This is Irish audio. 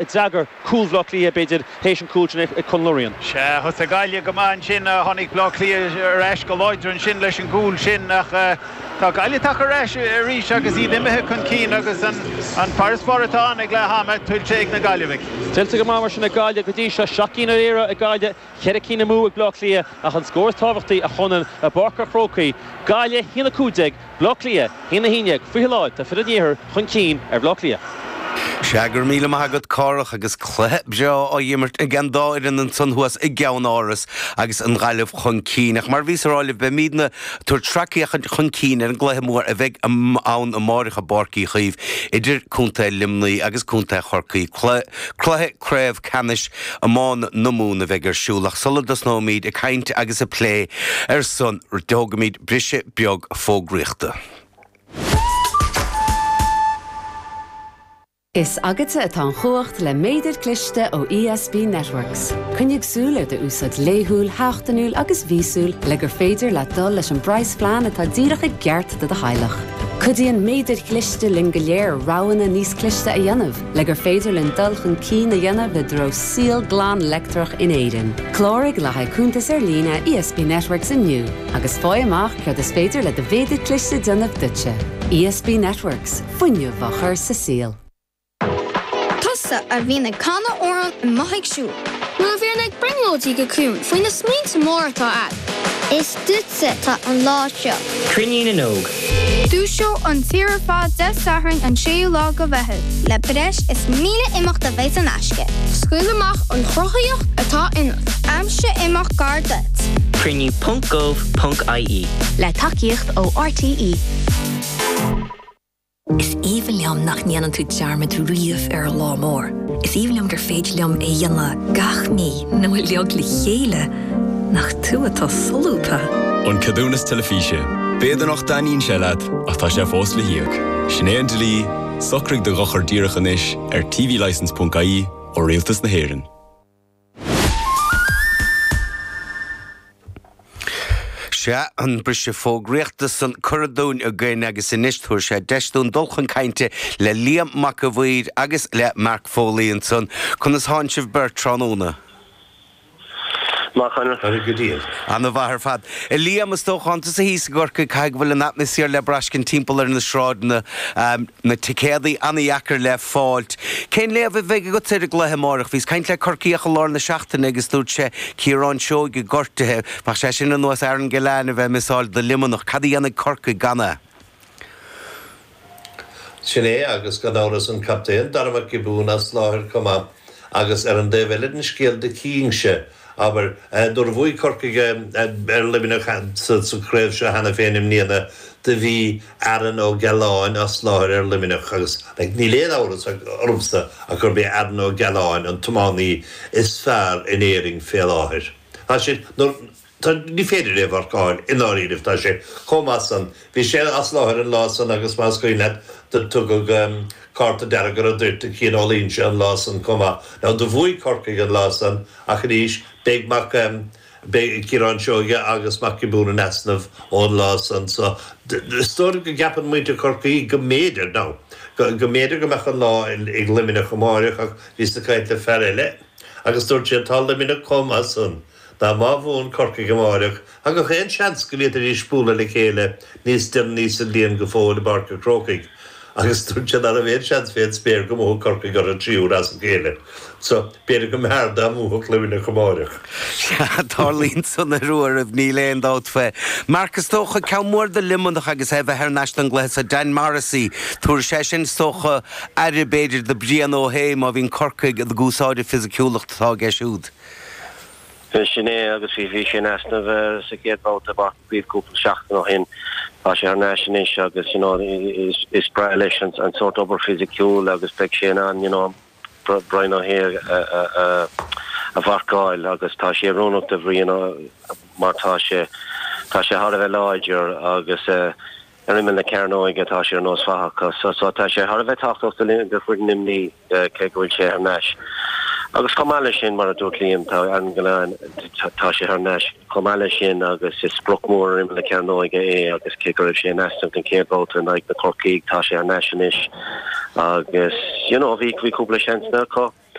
D'fhreagair cúl Bhaile Átha Cliath, b'fhéidir, théis an cúl sin ag Conal O'Ryan. Sea, thosaigh Gaillimh go maith ansin. Tháinig Baile Átha Cliath ar ais go láidir ansin leis an gcúl sin ach tá Gaillimh tagtha ar ais arís agus iad imithe chun cinn agus an farasbarr atá ann ag leath ama tuillte ag na Gaillimhigh. Tuillte go maith mar sin ag Gaillimh go dtí seo. 7 gcinn ar iarraidh ag Gaillimh, 4 cinn amú ag Baile Átha Cliath ach an scór is tábhachtaí, a Chonáin, i bPáirc an Chrócaigh, Gaillimh 1-15, Baile Átha Cliath, 1-11, faoi láthair, tá fir an Iarthair chun cinn ar Bhaile Átha Cliath. Sea, go raibh míle maith agat, Cárthach, agus cluiche breá á imirt ag an dá fhoireann ansan thuas i gceann-áras agus an Ghaillimh chun cinn. Ach mar a bhíos a rá libh, beimídne ag tabhairt sracfhéachaint chun cinn ar an gcluiche mór a bheidh ann amáireach i bPáirc Uí Chaoimh idir Contae Luimnigh agus Contae Chorcaí. Cluiche craobh ceannais iomána na Mumhan a bheidh ar siúl ach sula dtosnóimíd ag caint agus ag plé ar son, tógfaimíd briseadh beag fógraíochta. Is agatsa atá an chumhacht le méadar cliste ó ESB Networks. Coinnigh súil ar d'úsáid laethúil, sheachtainiúil agus mhíosúil le gur féidir leat dul leis an bpraghasphlean atá díreach i gceart do do theaghlach. Cuidíonn méadair chliste linn go léir roghanna níos cliste a dhéanamh le gur féidir linn dul chun cinn a dhéanamh i dtreo saol glan leictreach in Éirinn. Cláraigh le haghaidh cuntas ar líne ESB Networks inniu agus faigh amach céard is féidir le do mhéadar cliste déanamh duitse. ESB Networks, fuinneamh á chur sa saol. Tusa a bhíonn ag canadh amhrán amuigh ag siúl. Nó a bhíonn ag brionglóidí go ciúin faoi na smaointe móra atá a'd. Is duitse atá an lá seo. Cruinniú na nÓg. Dúiseoidh an tír ar fad Dé Sathairn an 6ú lá de Mheitheamh. Le breis is 1,000 imeacht a bheidh in aisce. Scaoil amach an chruthaíocht atá ionat. Aimsigh imeacht gar duit. Cruinniú ponc gov ponc ie. Le tacaíocht ó RTÉ. Is aoibhinn liom nach ndéanann tú dearmad riamh ar an lá mór. Is aoibhinn liom gur féidir liom é a dhéanamh gach mí nó uilig le chéile. Nach tú atá solúbtha! An Ceadúnas Teilifíse. B'fhéidir nach dtaitníonn sé leat, ach tá sé fós le híoc. Sin é an dlí, socraigh do dhochar díreach anois ar tvlicence.ie ó Rialtas na hÉireann. Sea, an briseadh fógraíochta san curtha dúinn againn agus anois tabharfaidh sé deis dúinn dul chun cainte le Liam Mac a' Mhaoir agus le Mark Foley ansan. Conas thánn sibh beirt tráthnóna? Maith, a Chonaill. Go diail. Ana mhaith ar fad. A Liam, is dócha, thánn tusa thíos i gCorcaigh, caithfidh go bhfuil an atmaisféar le braiscint timpeall ar na sráideanna. Na ticéadaí an-dheacair le fáilt. Cén léamh a bheidh agatsa ar an gcluiche amáireach? Bhíos caint le Corcaíoch i lár na seachtaine agus dúirt sé Ciarán Seoige gortaithe. Bheadh sé sin ar nós Aaron Gillane a bheith miseáil do Luimneach. Cad a dhéanfaidh Corcaigh gan é? Sin é, agus gan amhras an captaen, Dara Mac Giobúin as láthair chomh maith. Agus ar an dtaobh eile den scéal do chífinnse, abair, nuair a bhuaigh Corcaigh ar Luimneach sa chraobh seo cheana féin i mbliana, do bhí Aaron Ó Gealláin as láthair ar Luimneach agus níl aon amhras ormsa ach gurb é Aaron Ó Gealláin an tiománaí is fearr in Éirinn fé láthair. Tá sé, nuair, tá, ní féidir é a mharcáil i ndáiríribh, tá sé chomh maith san. Bhí sé as láthair an lá san agus más cuimhin leat do tugadh cárta dearg ar an dtoirt do Cian Ó Loingsigh an lá san chomh maith. Now do bhuaigh Corcaigh an lá san ach arís beidh Mac, Beidh Ciarán Seoige agus Mac Giobúin in easnamh ón lá san so is dóigh go gceapann muintir Chorcaí go mb'fhéidir, now, go mb'fhéidir go mbeadh an lá ag Luimneach amáireach ach bhíos ag caint le fear eile agus dúirt sé tá Luimneach chomh maith san ná má bhuann Corcaigh amáireach tá gach aon seans go bhféadfaidís bualadh le chéile níos deireanaí sa bhliain go fóill i bPáirc an Chrócaigh agus dúirt sé ná raibh aon seans fén spéir go mbuafadh Corcaigh orthu an tríú huair as a chéile. So, b'fhéidir go mb'fhearr dá mbuafadh Luimneach amáireach. Sea, tarlaíonn san ar uairibh, níl aon dabht faoi. Mark, is dócha, ceann mór do Luimneach agus é a bheith thar n-ais don gcluiche so, Dan Morrissey, tabharfaidh sé sin, is dócha, aire, b'fhéidir, do Brian Ó hAodha má bhíonn Corcaigh ag úsáid an fisiciúlacht atá aige siúd. Sin é, agus bhí bhí sé in easnamh sa chéad bhabhta i bPáirc Uí Chaoimh cúpla seachtain ó shin. Tá sé thar n-ais anois agus you know is is breá leis an an sórt obair fisiciúil agus beidh sé in ann you know Brian Ó hAodha a a a a mharcáil agus tá sé oiriúnach do Bhrian mar tá sé tá sé thar a bheith láidir agus ar imeall na cearnóige tá sé ar nós fathach. So so tá sé thar a bheith tábhachtach do do foireann Luimnigh. cé go bhfuil sé thar n-ais. Agus chomh maith leis sin, mar a dúirt Liam, tá Aaron Gillane, tá sé thar n-ais chomh maith leis sin agus is sprioc mór ar imeall na cearnóige é agus cé go raibh sé in easnamh don chéad bhabhta in aghaidh na Corcaígh, tá sé thar n-ais anois agus you know bhí bhí cúpla seansanna acu.